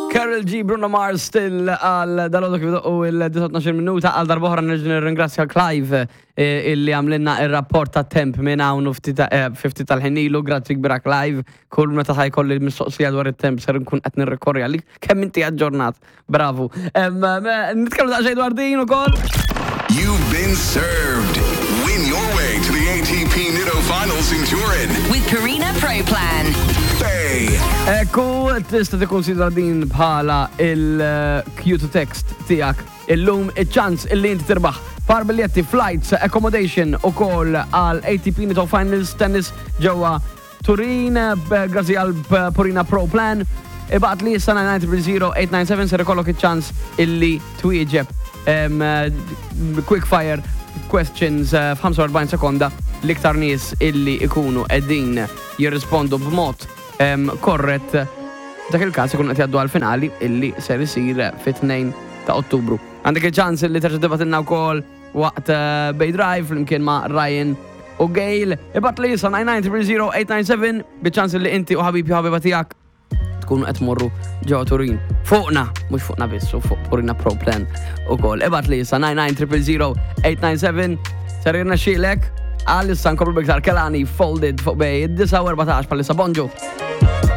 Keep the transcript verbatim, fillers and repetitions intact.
Karol G, Bruno Mars still għal dalgħodu kif u il-tnax minuta. Għal darb'oħra nerġa' nirringrazzja Clive eh, illi għamlinna il-rapport ta' temp minn hawn u ftit eh, ftit tal-ħin ilu. Grazzi kbira, Clive. Kull meta ħa jkolli l-mistoqsija dwar it-temp ser nkun qed nirrikorri għalik. Kemm inti aġġornat. Bravu. Em, eh, Nitkellmu daqsxejn dwar din ukoll. You've been served. Win your way to the A T P Nitto Finals in Turin. With Purina Pro Plan. Bay. Ekku, tista' tikkonsidra din bħala il-cue to text tiegħek illum, iċ-ċans illi inti tirbaħ par biljetti, flights, accommodation u koll għal A T P Nitto Finals Tennis ġewwa Turin, eh, grazzi għal Purina Pro Plan. Ibgħat li issa nine nine zero zero eight nine seven, ser ikollok iċ-ċans illi twieġeb em, eh, quick fire questions eh, f'ħamsa u erbgħin sekonda. L-iktar nies illi ikunu qegħdin jirrispondu b'mod em, korrett, dak il-każ ikun qed jgħaddu għal-finali illi ser isir fit-tnejn ta' Ottubru. Għandek il-ċans illi terġa' tibgħatilna wkoll waqt eh, Bay Drive flimkien ma' Ryan u Gail. Ibgħat li issa nine nine zero zero eight nine seven biċ-ċans illi inti u ħabib u ħabiba tiegħek tkunu qed tmorru ġewwa Turin. Fuqna, mhux fuqna biss, u fuq Purina Pro Plan ukoll. Ibgħat li issa nine nine zero zero eight nine seven, ser jirnexxielek. Għal issa nkomplu b'iktar Kehlani, Folded fuq Bay, disa u erbatax bħalissa. Bonġu.